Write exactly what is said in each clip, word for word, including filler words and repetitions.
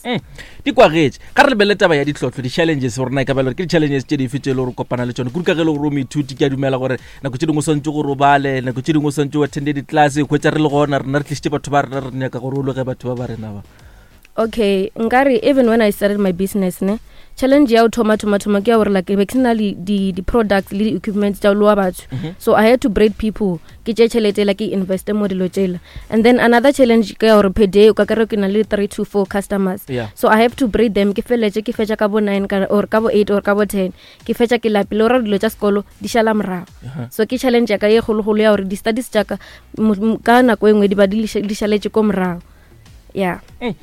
Mm. Di kwagetše. Ga re lebelele taba ya ditlhohlo, di-challenges, gore na e ka ba le gore ke di-challenges tše dife tše e le gore o kopana le tšona, kudu ka ge e le gore o moithuti. Ke a dumela gore nako tše dingwe o swantse gore o bale, nako tše dingwe o swantse o attende di-class. Hwetša re le gona rena re tlišitše batho ba rena, re nyaka gore o loge batho ba ba rena ba. Okay, nkare even when I started my business ne, challenge ya go thoma thoma thoma ke ya gore like be ke sena le di di-products le di-equipment tša go loa batho, Mhm. so I had to braid people, ke tše tšhelete la ke investe mo dilo tšela. And then another challenge ke ya gore per day o ka kry ke na le three to four customers, Yeah. so I have to braid them. Ke feletse ke fetša ka bo nine ka- or ka bo eight or ka bo ten, ke fetša ke lapile, ora dilo tša sekolo di šala morago. Uh-huh. So ke challenge ya ka ye kgologolo ya gore di-studies tša ka mo- mo- ka nako e nngwe di ba di liša- di šaletše ko morago, yeah. Mm.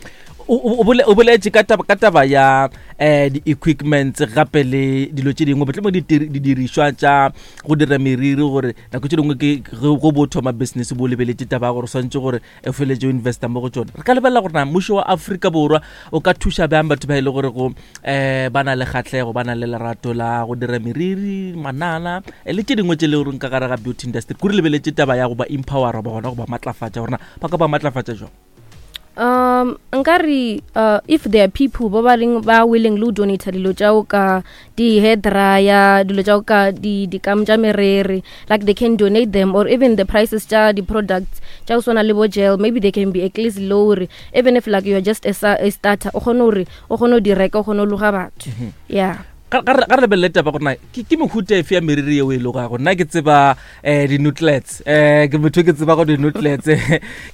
o o- o bole- o boletše ka taba ka taba ya um di-equipments gape le dilo tše dingwe, mohlomong ditiri- didirišwa tša go dira meriri, gore nako tše dingwe ke ge go bo thoma business bo lebeletše taba ya gore o swantše gore o feletse o investa mo go tšona. Re ka lebelela gore na mmušo wa Afrika Borwa o ka thuša bjang batho ba e le gore go um ba na le kgatlhego, ba na le lerato la go dira meriri, manana eh, le tše dingwe tše le goreng ka gare ga beauty industry, kore lebeletše taba ya go ba empowera ba gona go ba matlafatša, gore na ba ka ba matlafatša jang? um nkare uh, if there are people ba ba leng ba willing le go donata dilo tša go ka di-hair dryer, dilo tša go ka di dikam tša merere, like they can donate them, or even the prices tša di-products tša go swana le bo gel, maybe they can be at least low, gore even if like you are just a, sa- a starter, o kgone gore o kgone go di reka, o kgone go loga batho, yeah. Ga ga re ga re lebelele taba gore na ke ke mehuta efe ya meriri yeo e logago. Nna ke tseba um di-nutlets, um ke motho e ke tseba go di-nutlets,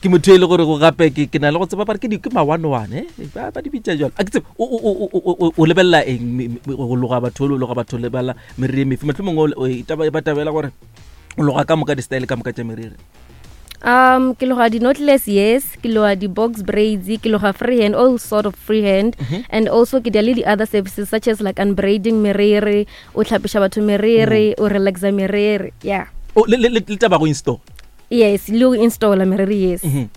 ke motho e le gore go gape ke ke na le go tseba bare ke di- ke ma-one one eh ba ba di bitša jalo, a ke tsebe. O- o- o- o o- o lebelela eng me- me- go loga batho, o loga batho, o lebelela meriri e mefe? Mohlomongwe o- o- e taba- ba tabela gore o loga ka moka di-style ka moka tša meriri. um ke loga di-knotless, yes, ke loga di-box braids, ke loga freehand, all sort of freehand, Mhm. and also ke dia le di-other services such as like unbraiding meriri, o tlhapiša batho meriri, o relaxa meriri, yeah. O, le le- le le taba go install? Yes, le go installa meriri, yes. Mhm.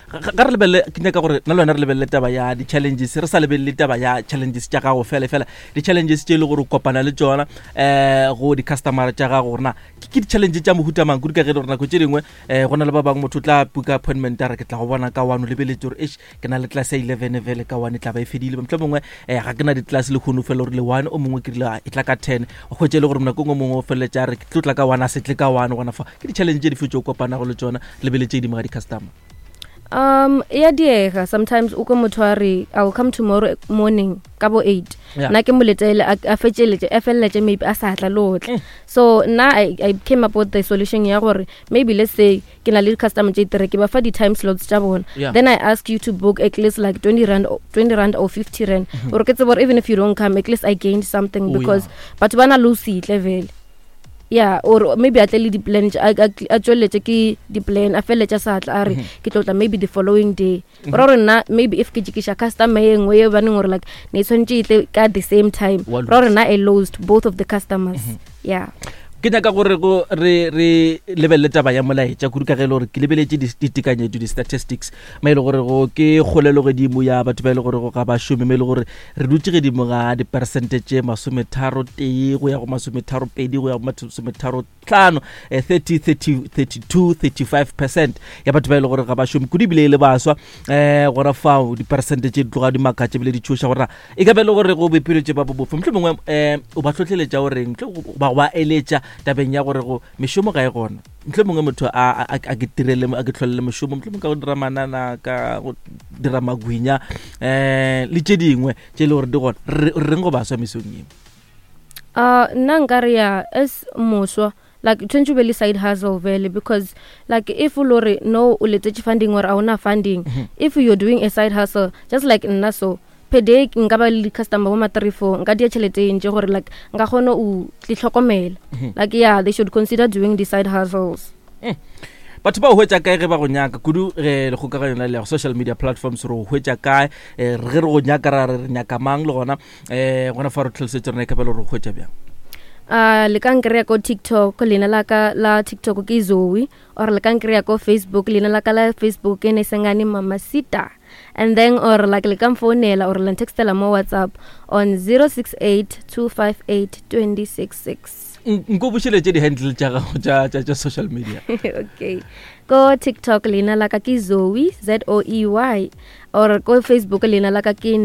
Ga ga re lebelele, ke nyaka gore nna le wena re lebelele taba ya di-challenges, re sa lebelele taba ya challenges tša gago fela fela, di-challenges tše e le gore o kopana le tšona um go di-customera tša gago, gore na ke ke di-challenge tša mohuta mang, kudu ka ge e le gore nako tše dingwe um go na le ba bangwe, motho o tla puka appointment a re ke tla go bona ka one, o lebeletse gore eish, ke na le class ya eleven fele, ka one e tla ba e fedile, motlho mongwe um ga ke na di-class le kgono fela gore le one, o mongwe ke rile, "Ah, e tla ka ten." O hwetše e le gore nakong o mongwe o feleletše a re ke tlo tla ka one, a se tle ka one. Gona fa ke di-challenge tše dife tše o kopanago le tšona, lebeletse dimo ga di-customer? um e a diega sometimes, o ko motho a re, "I will come tomorrow morning ka bo eight." Yeah. Nna ke mo letele, a a fetšeletše, a feleletše maybe a sa tla le go tla. Mm. So nna I, i came up with the solution ya gore maybe let's say ke na le di-customer tše three, ke ba fa di-time slots tša bona. Yeah. Then I ask you to book at least like twenty rand or- twenty rand or fifty rand, gore ke tsebe gore even if you don't come, at least I gained something, Oh, because yeah. batho ba na le ho se itle vele, yeah, or maybe a tle le di-plan, a a- a tsweletse ke di-plan, a feleletše a sa tla, a re ke tlo tla maybe the following day. Ora gore nna maybe if ke jekiša customer ye nngwe ye baneng gore like ne e tshwanetse e tle ka the same time, Wa ra gore nna I lost both of the customers, yeah. Ke nyaka gore go re re lebelele taba ya molaetša, kudu ka ge e le gore ke lebeletše di- ditekanyetšo, di-statistics, ma e le gore go ke kgolelo godimo ya batho ba e le gore go ga ba šome, mo e le gore re dutše godimo ga diperesente tše masometharo tee go ya go masometharo pedi go ya go masometharo tlhano, eh, thirty, thirty, thirty-two, thirty-five percent ya batho ba e le gore ga ba šome, kudu ebile e le baswa. um gora fao diperesente tše di tloga di makatša ebile di tšhoša, gore e ka be e le gore go bophelo tše ba bo bofe. Mohlomongwe um o ba tlhotlheletša goreng, ba go ba eletša tabeng ya gore go mešomo ga e gona, mohlomongwe motho a a- a ke tirele, a ke tlholele mošomo, mohlomongwe ka go dira manana, ka go dira magwinya um le tše dingwe tše e le gore di gona, re re reng go baswa mesong eo? uh nna nkare ya as moswa, like tshwanetse o be le side hustle vele, because like if o lo re no o letetše funding or a ona funding, if you're doing a side hustle just like nna, so per day nka ba le di-customer bo ma three four, nka dia tšhelete e ntši gore like nka kgona o tlhokomela. Like yeah, they should consider doing the side hustles. Batho ba o hwetša kae ge ba go nyaka, kudu ge lekgokaganyo la leago, social media platforms, re go hwetša kae? um ge re go nyaka, ra re re nyaka mang, le gona um gona fa re tlhalosetše rena e ka ba le gore go hwetša bjang? uh le ka nkry-a ko TikTok, leina la ka la TikTok ke Zoe, or le ka nkry-a ko Facebook, leina la ka la Facebook ke Nesengane Mamasita, and then or like le ka mfounela or la ntextela mo WhatsApp on zero six eight two five eight two six six. Nko bušeletše di-handle tša gago tša- tša tša social media. Okay, ko TikTok leina la ka ke Zoe, Z O E Y, Or ko Facebook leina la ka ke